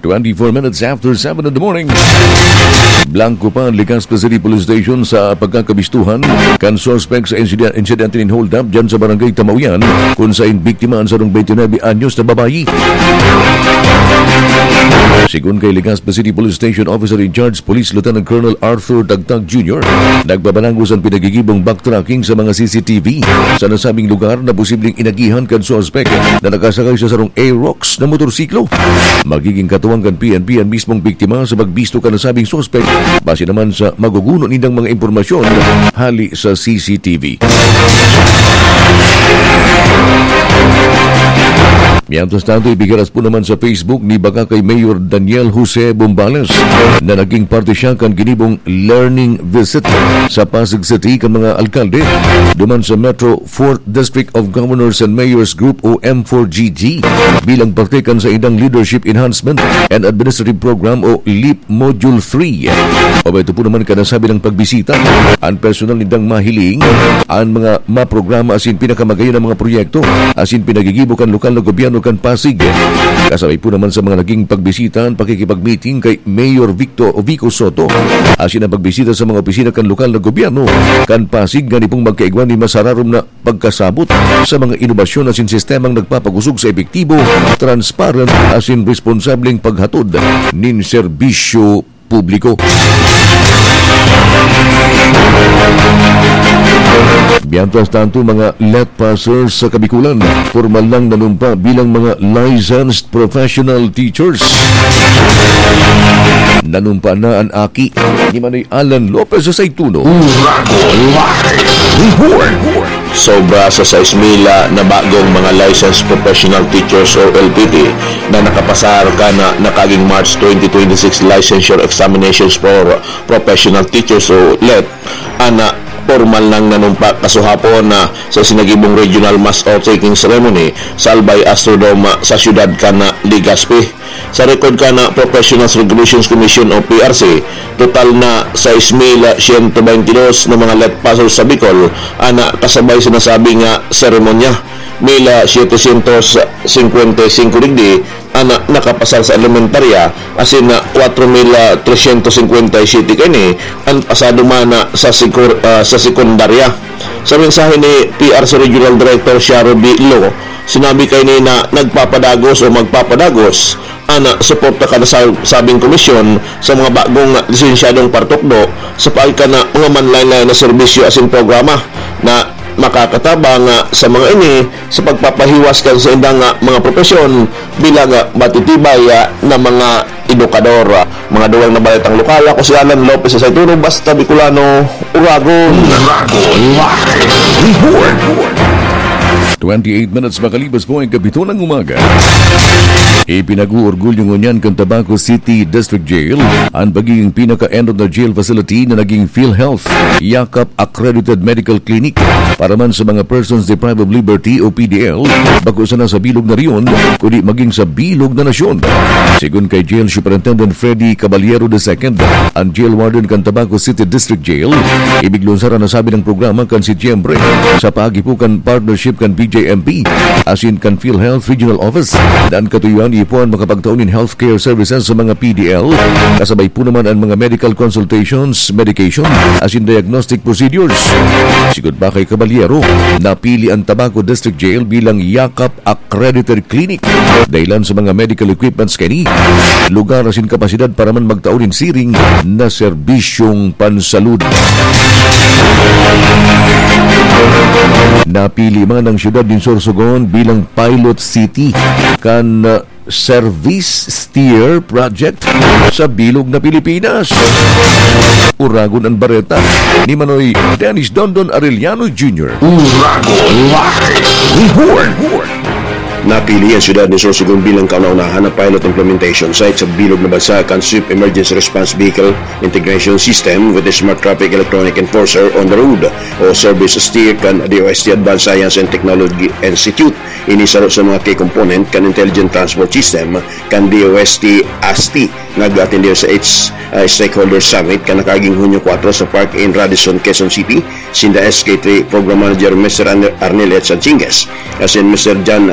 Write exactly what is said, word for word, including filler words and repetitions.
Twenty-four minutes after seven in the morning. Blanco pa an Legazpi City Police Station sa pagkakabistuhan kan suspek sa insiden-, insidente nin hold-up dyan sa Barangay Tamauyan, kung sain biktima an sarong twenty-nine anyos na babayi. Sigon kay Legazpi City Police Station Officer in Charge Police Lieutenant Colonel Arthur Tagtag Junior, nagbabalangos an pinagigibong backtracking sa mga C C T V sa nasabing lugar na posibleng inagihan kan suspek na nakasakay sa sarong Aerox na motorsiklo. Magiging katuwang kan P N P an mismong biktima sa pagbisto kan nasabing suspek, base naman sa maguguno nindang mga impormasyon hali sa C C T V. Mientras tanto, ibigiras po naman sa Facebook ni Bacacay Mayor Daniel Jose Bombales na naging parte siya kan ginibong learning visit sa Pasig City kan mga alkalde duman sa Metro Fourth District of Governors and Mayors Group o M four G G bilang parte kan saindang Leadership Enhancement and Administrative Program o leap Module three. Obay ito po naman kan nasabi nang pagbisita, an personal nindang mahiling an mga maprograma asin pinakamagayon na mga proyekto asin pinagigibo kan lokal na gobyerno kan Pasig. Kasabay po naman sa mga naging pagbisita an pakikipag-meeting kay Mayor Victor Vico Soto asin ang pagbisita sa mga opisina kan lokal na gobyerno kan Pasig ngani pong magkaigwa nin masararom na pagkasabot sa mga inobasyon asin sistemang nagpapakosog sa epektibo, transparent asin responsableng paghatod nin serbisyo publiko. Mientras tanto, mga let passers sa Kabikulan, formal nang nanumpa bilang mga licensed professional teachers. Nanumpa na an aki ni Manoy Alan Lopez sa Saituno. Uragon Live Report. Sobra sa sais mil na bagong mga licensed professional teachers o L P T na nakapasar kan nakaging March twenty twenty-six Licensure Examinations for Professional Teachers o let an pormal nang nanumpa kasuhapon na sa sinagibong Regional Mass Oath-taking Ceremony sa Albay Astrodome sa siyudad kan Legazpi. Sa record kan Professionals Regulations Commission o P R C, total na sais mil siyento baynte dos na mga let passers sa Bicol an kasabay sa nasabing seremonya. Mil setecientos cincuenta y cinco digdi an nakapasar sa elementarya, asin kwatro mil tresyentos singkwenta y siyete kaini an pasado man sa sikur-, ah, sa sekundarya. Sa mensahe ni P R C Regional Director Sharo B. Lo, sinabi kaini na nagpapadagos o magpapadagos an suporta kan sa-, sabing komisyon sa mga bagong lisensyadong partukdo sa paagi kan mga manlaen-laen na serbisyo asin programa na makakatabang sa mga ini sa pagpapahiwas kan saindang mga propesyon bilang matitibay na mga edukador. Mga dugang na baretang lokal, ako si Alan Lopez sa Saituno, basta Bicolano, Uragon. Uragon Live Report. Twenty-eight minutes makalipas po ang kapito ng umaga. Ipinag-uorgulyo ngunyan kan Tabaco City District Jail ang pagiging pinaka-end of the jail facility na naging PhilHealth Yakap Accredited Medical Clinic para man sa mga persons deprived of liberty o P D L, bako sana sa bilog na rehiyon, kundi maging sa bilog na nasyon. Sigon kay Jail Superintendent Freddy Caballero the second, ang jail warden kan Tabaco City District Jail, ibiglunsara na sabi ng programa kan Setyembre sa paagi po kan partnership kan B J M P asin kan PhilHealth Regional Office, na an katuyoan ipuan makapagtao nin healthcare services sa mga P D L, kasabay po naman ang mga medical consultations, medication, asin diagnostic procedures. Sigon pa kay Caballero, napili ang Tabaco District Jail bilang Yakap Accredited Clinic dahilan sa mga medical equipments kaini, lugar asin kapasidad para man magtao nin siring na serbisyong pansalud. Napili man ang siyudad nin Sorsogon bilang pilot city kan, uh, Service Steer Project sa bilog na Pilipinas. Uragon an bareta ni Manoy Dennis Dondon Arellano Junior. Uragon Live Report. Napili ang siyudad ni Sorsogon bilang kauna-unahan na pilot implementation site sa bilog na bansa kan Swift Emergency Response Vehicle Integration System with the Smart Traffic Electronic Enforcer on the Road o Service Steer kan D O S T Advanced Science and Technology Institute. Ini saro sa mga key component kan Intelligent Transport System kan D O S T ASTI nga nag-atender sa its, ah, Stakeholder Summit kan nakaaging Hunyo kwatro sa Park in Radisson, Quezon City, sinda S K three Program Manager Mister Arne-, Arnel H. Sanchingues, asin Mister John